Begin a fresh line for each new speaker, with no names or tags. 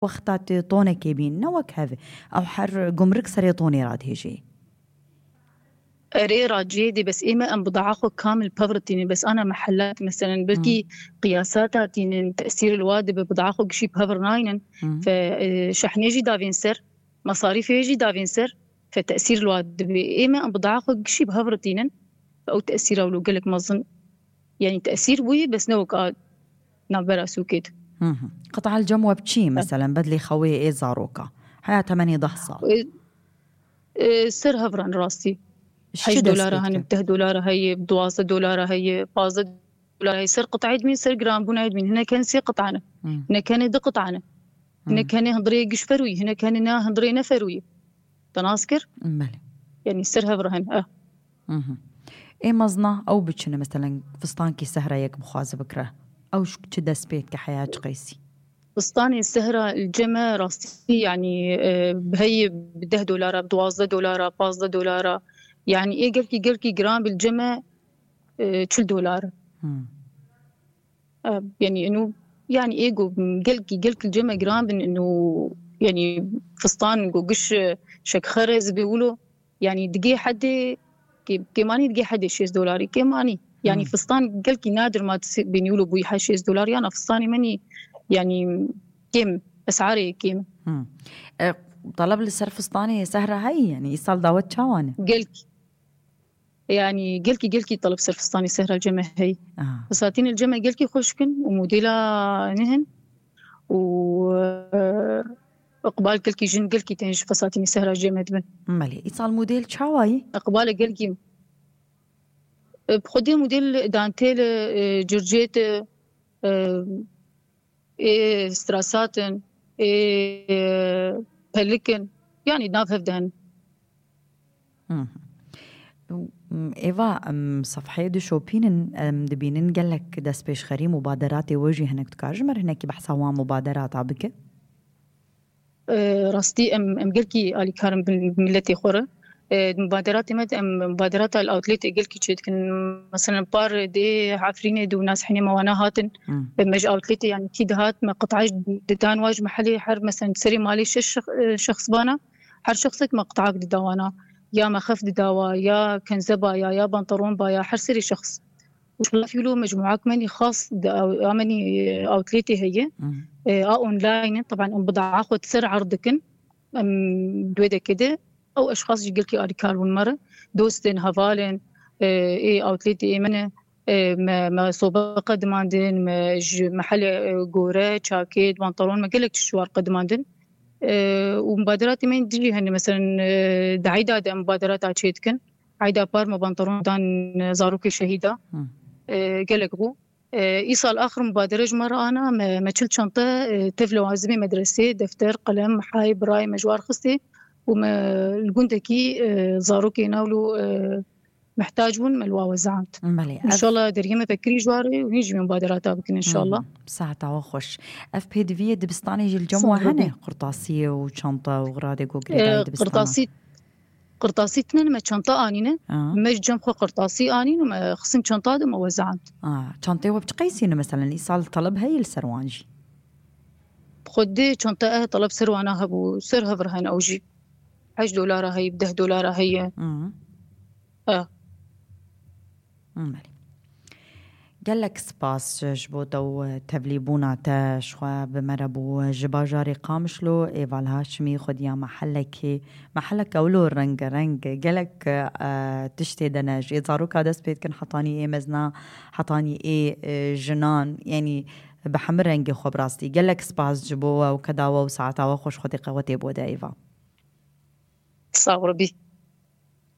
وقتات طونة كيبين نوك هذا أو حر جمرك سريطوني راد هيجي
أري راجيدي بس إيما أن بضعاخو كامل بفرتيني بس أنا محلات مثلا بلكي قياساتاتين تأثير الواد بضعاخو قشي بفر ناينن فشحنيجي دافينسر مصاريف يجي دافينسر فتأثير الواد إيما أن بضعاخو قشي بفرتينن أو تأثير أولو قلك مظن يعني تأثير وي بس نوك نعبر أسوكيد
قطع الجموة بشي مثلا بدلي خوي إيه زاروكا حياتها مني ضحصة
سر هفران راسي $8 هن $10 هي $12 هي $15 هي سر قطعيد من سر جرام بنايد من هنا كان سي قطعنا هنا كان دق قطعنا هنا كان هندري قش فروي هنا كان نا هندري نفروي تناسكر يعني سر هفرهن
إيه مزنا أو بتشنا مثلا فستانكي سهرة يك بخاز بكره أو شو كده سبيت كحياة قيسي
فستاني السهرة الجمع راسي يعني بهي $10 $12 $15 يعني إيه قلكي جرام بالجمع $2 يعني إنه يعني إيه قلكي الجمع جرام إنه يعني فستان قش شك خرز بيقولوا يعني دقي حد كماني دقي حد $6 كماني يعني فستان قلكي نادر ما بينيولوا بوي $6 أنا فستاني مني يعني كم أسعاري كم
طلب للسر فستاني سهرة هاي يعني يصال داوت شاوانة
قلكي طلب سر فستاني سهرة الجمع هاي فساتين الجمع قلكي خوشكن وموديلا نهن وأقبال قلكي جن قلكي تنج فساتين سهرة الجمع دبن
مالي يصال موديل شاواي
أقبال قلكي بخدي موديل دانتيل جورجيت ستراساتن بلكن يعني ناف هفدهن
إيفا صفحة دو شوبين دبينن قالك داس بيش خري مبادرات وجه هناك تكاجمر هناك بحثوا مبادرات عبك
راستي قلكي آلي كارم بملتي خورة مبادرات مبادرات الأوتليت قلكي تشيد كن مثلا بار دي عفريني دو ناس حيني موانا هاتن بمج أوتليت يعني كيد هات ما قطعش دان واج محلي حر مثلا تسري مالي شخص بانا حر شخصك ما قطعك دوانا يا ما خف دوا يا كنزبا يا بنطرون بايا حر سري شخص وش في له مجموعات مني خاص مني أوتليتي هي أونلاين طبعا بضع أخذ سر عرضكن دويدا كده أو أشخاص يقولكي أريكال والمرة دوستن هفالن إيه أوتليتي إيه منه ما سوبر قدماندن محل جورة شاكيت بنطلون ما قلك شوار قدماندن ومبادرات من تجي هني مثلا دعيدة مبادرات عشيتكن عيدا بار ما بنطلون دان زاروكي شهيدة قلك بو إيصال آخر مبادرة مرة أنا ما شلت شنطة تفلو عزمي مدرسة دفتر قلم محاي براي مجوار خستي وما الجندكي زاروكي ناولو محتاجون ملوا وزعات إن شاء الله دريمة فكري جواري ونيجي من مبادرات بكن إن شاء الله
ساعة وخش أف بي دي في دبستاني جي الجموع هنا قرطاسية وشنطة وغرادة وقريدة
دبستانة قرطاسي تنين ما شنطة آنينة مش جمخو قرطاسي آنين وما خصم شنطة دم وزعات
شنطة وبتقيسين مثلا إيصال طلب هاي السروانجي
خدي شنطة طلب سروانها بو سرها فرهن أوجي $10 هي $10 هي
مالي قال لك سباس جبوتو تبليبونا تاش بمربو جباجاري قامشلو إيفال هاشمي خد يا محلك أولو رنج قال لك تشتي دناج يزاروك هذا سبيت كان حطاني إيه مزنا حطاني إيه جنان يعني بحمر رنجي خبراستي قال لك سباس جبوه وكداوه وساعتها وخوش خدي قوتي بودا إيفا
صاور بي